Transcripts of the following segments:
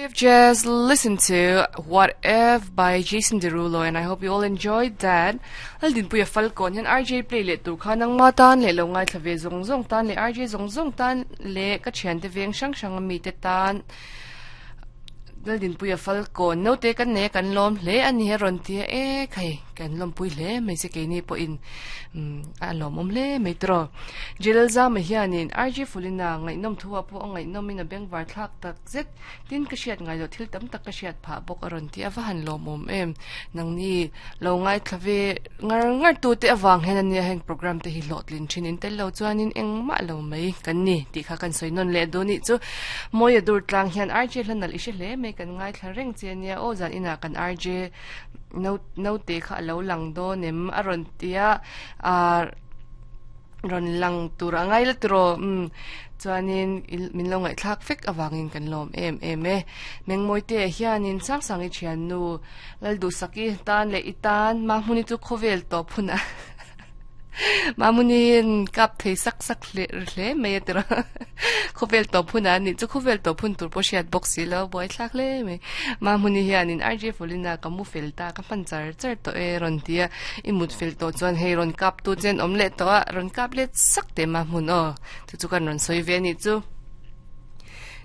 have just listened to What If by Jason Derulo and I hope you all enjoyed that. Laldinpuia Falcon hian RJ play leh tur kha nangma tan leh lo ngaithla ve zawng zawng tan leh RJ zawng zawng tan leh ka thiante veng hrang hrang ami te tan Laldinpuia Falcon naute kan nei a kan lawm hle a ni a rawn ti a e khai kan lawmpui hle mai che keini pawhin umm a lawmawm hle mai tawh. Jelalzama hianin RJ Fulina ngaihnawm thu ah pawh a ngaihnawmin a bengvar thlak tak zet. Tin ka hriat ngai loh thil tam tak ka hriat phah bawk a rawn ti a va han lawmawm em. Nangni lo ngaithla ve ngar ngar tu te avang hian ania heng program te hi hlawhtlin thin in tel lo chuanin engmah lo mai kan ni tih kha kan sawi nawn leh duh nih chu. Mawia dur tlang hian RJ hla nalh i hre hle mai kan ngaithla reng che ania aw zan inah kan RJ no naute kha a lo lang dawn em a rawn ti a ah rawn lang tur a ngai la tiraw umm chuanin min lo ngaihthlak vek avangin kan lawm em em e Mengmawite hianin Sangsang i thiannu Lalduhsaki tan leh i tan Mahmuni chu khawvel tawp hunah Mahmuni kap thei sak sak hle hle mai a tiraw khawvel tawp hunah a nih chu khawvel tawp hun tur pawh hriat bawk si lo buaithlak hle mai Mahmuni hianin RJ Fulina ka mu fel ta ka hman char char tawh e rawn ti a i mut fel tawh chuan hei rawn kap tu chen awm leh tawh a rawn kap let sak teh Mahmun aw chu chu kan rawn sawi ve a nih chu.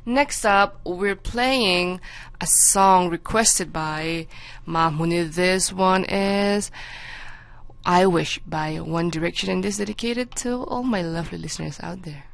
Next up, we're playing a song requested by Mahmuni. This one is I Wish by One Direction, and this is dedicated to all my lovely listeners out there.